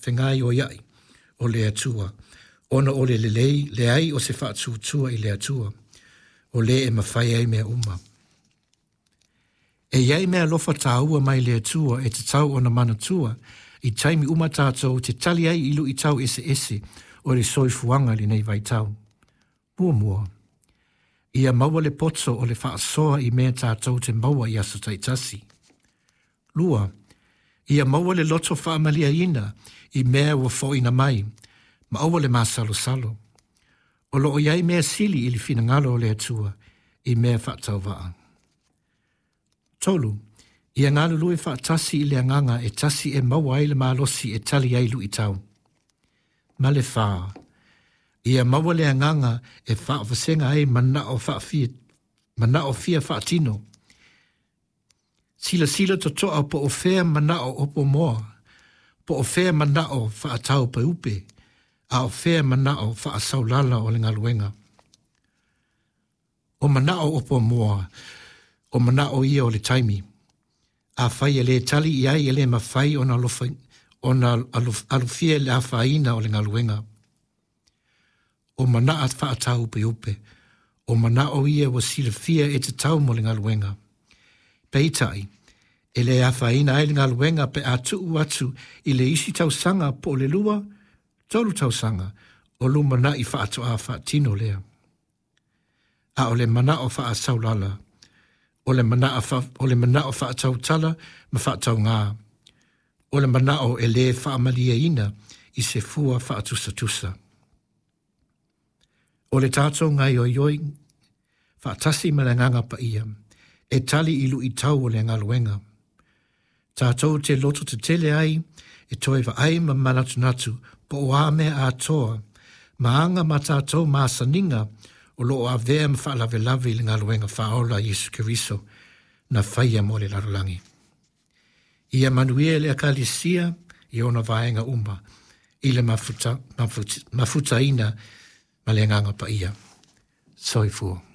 fegaioia'i o le Atua, ona o le lelei leai o se faatuatua i le Atua, o lē e mafai ai mea uma. E i ai meaalofa tāua mai le Atua e tatau ona manatua i taimi uma tātou te tali ai i luʻitau eseese o le soifuaga i lenei vaitau. Muamua, ia maua le poto o le faasoa i mea tātou te maua i aso taitasi. Lua, ia maua le loto faamalieina i mea ua foʻina mai, ma aua le masalosalo. O loo i ai mea sili i le finagalo o le Atua i mea faatauvaa. Tolu, ia galulue faatasi i le agaga e tasi e maua ai le malosi e tali ai luʻitau. Ma le fā, ia maua le agaga e faavasega ai manao faafia, manao fia faatino. Silasila totoa po o fea manao opo moa, po o fea manao faataupeupe, a o fea manao faasaulala o le galuega. O manao opo moa, o manao ia o le taimi. Afai e le tali i ai e le mafai ona alofa, ona alofia le afaina o le galuega. O manaa faataupeupe, o manao ia ua silafia e tatau mo le galuega. Peitai, e le afaina ai le galuega pe a tuu atu i le isi tausaga po o le 2, 3 tausaga o lumanaʻi faatoa faatino lea. A o le manao faasaulala, o le manao, o le manao faatautala ma faataugā, o le manao e lē faamalieina i se fua faatusatusa. O le tātou gaoioiga faatasi ma le Agaga Paia, e tali i luʻitau o le galuega. Tātou te loto tetele ai e toe vaai ma manatunatu po o a mea atoa, ma aga ma tātou masaniga o loo avea ma faalavelave i le galuega faaola a Iesu Keriso na faia mo le lalolagi. Ia manuia le Ekalesia i ona vaega uma i le mafutaina ma le Agaga Paia. Soifua.